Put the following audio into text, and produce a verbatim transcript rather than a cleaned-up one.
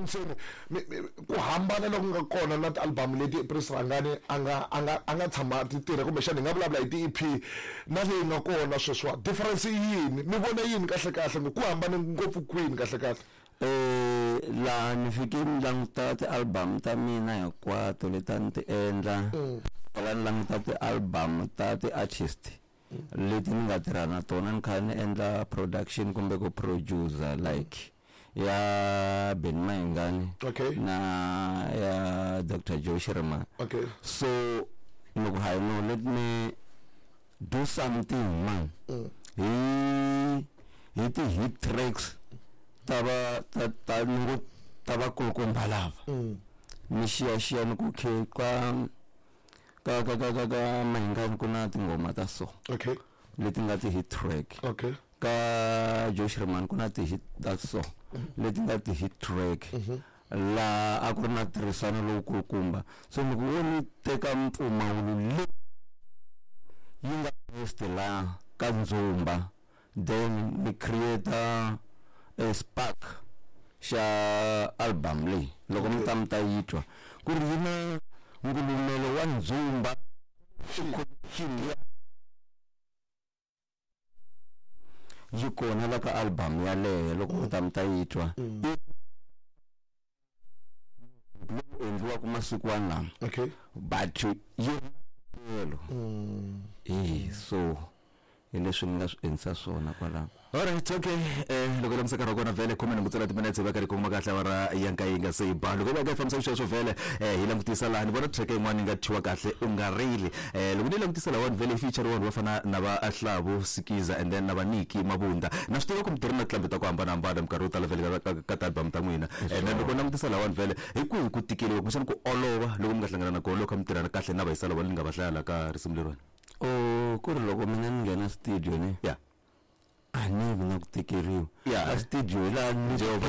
Ntseni mi- mi- ku hambana loku nga kona na ti-album leti Prince Rhangani a nga a nga a nga tshama ti tirha kumbexana hi nga vulavula hi ti-E P na leyi nga kona sweswiwa, difference i yini? Mi vona yini kahle kahle ngo ku hambane ngopfu kwini kahle kahle? Eh, laha ni fike ni languta ti-album ta mina hinkwato leti a ni ti endla, tlhela ni languta ti-album ta ti-artist leti ni nga tirha na tona, ni kha ni endla production kumbe ku producer, like ya Benny Mayengani okay na ya Doctor Joe Shirimani. Okay so loko hayi, no, let me do something, man, hi hi ti-hit tracks ta va ta ta ni ngo ta vakulukumba lava, ni xiyaxiya ni ku khe ka ka ka ka ka ka Mayengani ku na tinghoma ta so okay leti nga ti-hit track, okay ka Joe Shirimani ku na ti-hit ta so leti nga ti-hit track, laha a ku ri na ntirhisano lowukulukumba. So loko wo ni teka mpfumawulo leyi yi nga best laha ka ndzumba, then ni create a spark xa album leyi, loko mi ta mi ta yi twa ku ri yi na ngulumelo wa ndzumba ya yi kona la ka album yaleyo. Loko mi ta mi ta yi twa lowu endliwaka masiku lama, okay but yi elo eh so hi leswi ni nga swi endlisa swona kwalaho. Alright, okay. eh loko langutisa nkarhi wa kona vhele khume nhungu ntsena timinetse va karhi kongoma kahle awara ya nkaye yi nga se yi ba. Loko va ka fambisa sweswo vhele, eh hi langutisa laha ni vona track yin'wana yi nga thyiwa kahle u nga rili. eh loko ni langutisa lahawani vhele, feature vanhu va fana na va Hlavu Sikiza and then na va Niki Mabunda. Na swi tiva ku mi tirhi na tinqambi ta ku hambanahambana minkarhi yo tala vhele ka- ka ka ti-album ta n'wina. eh na loko langutisa lahawani vhele, hi kwihi ku tikeliwa kumbexana ku olova loko mi nga hlangana na kona loko kha mi tirhana kahle na vayisa lava ni nga va hlaya la ka risimu leriwani? O ku ri loko mina ni nghena studio ni ya a ni vi na ku tikeriwa Yeah. a studio hi laha ni Jehovah.